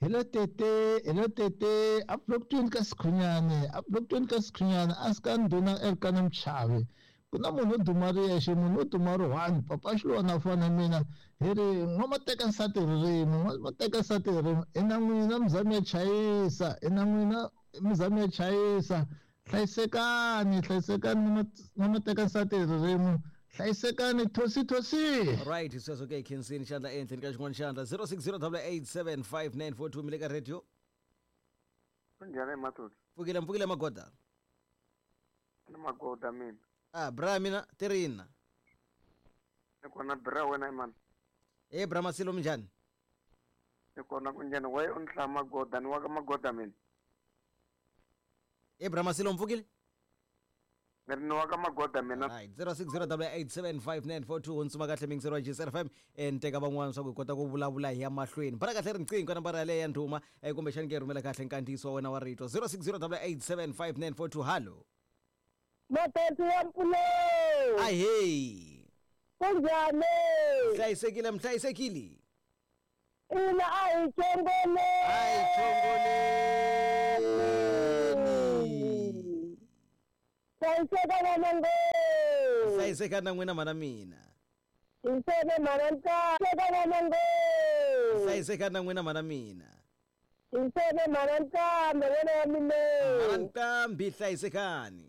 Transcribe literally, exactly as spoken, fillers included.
Hello tete, hello tete, a block ka Sikhunyane, a block ka Sikhunyane, a sika ndhuna Elkana Mchavi. Ku na munhu wo duma ri yexe, munhu wo duma ri one, papa Xilwana fana mina. Hi ri n'wamateka nsati ririmi, n'wamateka nsati ririmi. I na n'wina mizamo ya chayisa, i na n'wina mizamo ya chayisa. Hlayisekani, hlayisekani n'wamateka nsati ririmi. Hlayisekani thosi thosi. Right, sweswo ke khensini xandla ehenhleni ka xin'wana xandla zero six zero double eight seven five nine four two mi le ka radio. Kunjani Mathuthu? Pfukile mpfukile magoda. Ni magoda mina. Ah, bra mina tirina. Ni kona bra wena man. Eh bra Masilo minjhani? Ni kona kunjhani we u nhla magoda ni wa ka magoda mina. Eh bra Masilo mpfukile? Ni wa ka magoda mina. Right, zero six zero double eight seven five nine four two hundzuma kahle mingisero wa G S F M en teka van'wana swa ku hi kota ku vulavula hi ya mahlweni. Bara kahle riqingho ka nambara yaleyo ya ndhuma eh kumbexani ke rhumela kahle nkandziyiso wa wena wa rito zero six zero double eight seven five nine four two. Hallo. Matati ya mpfuno. Ahee. Kunjhani? Hlayisekile mhlayisekile. Ina a hi chongoleni. A hi chongoleni. Hlayiseka vana ngo. Hlayiseka na n'wina mana mina. Hiseke mana ntsaka vana ngo. Hlayiseka na n'wina mana mina. Hiseke mana ntsaka wena ya mina. Mana ntambi hlayisekani.